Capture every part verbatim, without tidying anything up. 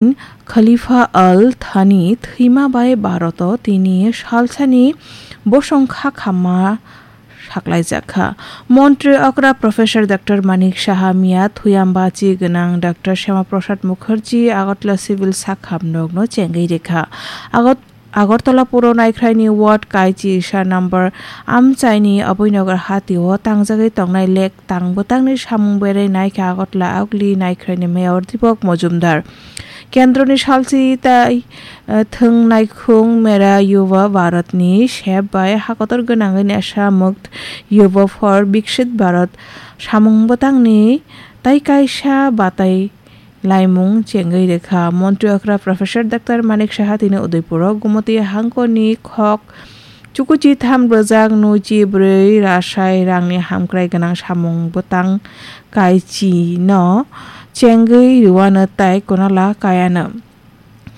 Khalifa Al Thani thwima bai Bharoto tini salsani bosong kha khamma saklaijak kha. Montri okra Professor Doctor Manik Saha miya thuyam bachi gwnang Doctor Shama Prasad Mukherjee Agartala Civil sakham nokno chengwi rikha. Agot-, Agartala Puro Naikhraini Ward Kaichi sa number amchaini Abhinagar hatio tangjagwi tongnai lek tang bwtangni samung berai naikha Agartala Agli Naikhraini Mayor Deepak Majumdar. Kendroni salchi tai, eh, thwng naikhung Mera Yuva Bharatni sep bai hakotor gwnangwi Nasha Mukt Yuva for Viksit Bharat samung bwtangni tai kaisa batai laimung chengwi rikha. Montri okra Professor Doctor Manik Saha tini Udaipuro Gumoti hangkoni khok chukuchi tham rwjak nuichi bwrwi rasai rangni hamkrai gwnang samung bwtang kaichi no chengwi rwano tai Kunala Kayano.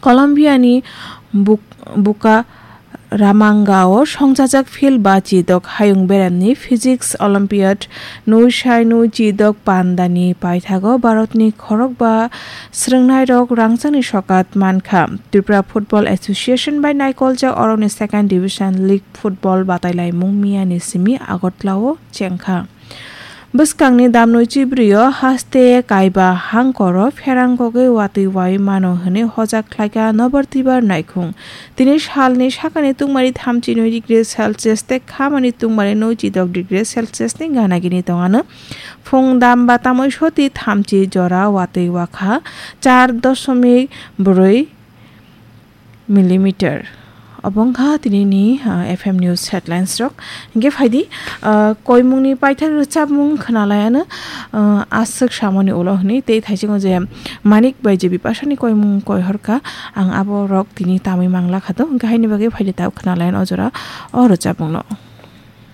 Colombia ni Buk-, Buka Ramangao songchajak field ba chidok hayung beremni Physics Olympiad nui sai nui chidok pandani paithago Bharatni khorokba srwngnairok rangchakni sokat mankha. Tripura Football Association bai naikoljak orokni Second Division League football batailaimung miyani simi Agartala-o chengkha. Bwskangni damnoi chibrio haste kaiba hangkoro pherang kogwi watwi wai mano hwnwi hojak khlaikha nobar twibar naikhung. Tini salni sakani tungmani thamchi noi degree Celsius tei khamani tungmani noi chidok degree Celsius ni gana gini tongano. Phung dam ba tamoi soti thamchi jora watwi wakha char doshomik bwrwi millimeter. Obo wngkha tinini, ah, F M News headlines rok. Hingke phaidi, ah, koimungni paithak rwchapmung khwnalaiano, ah, aswk samani ulo hwnwi tei thaisingo je Manik bai je Bipasani koimung koihorkha, ang abo rok tini tamwi manglakha do. Hingke haini bagwi phaidi tabuk khwnalaiano o jora o rwchapmungno.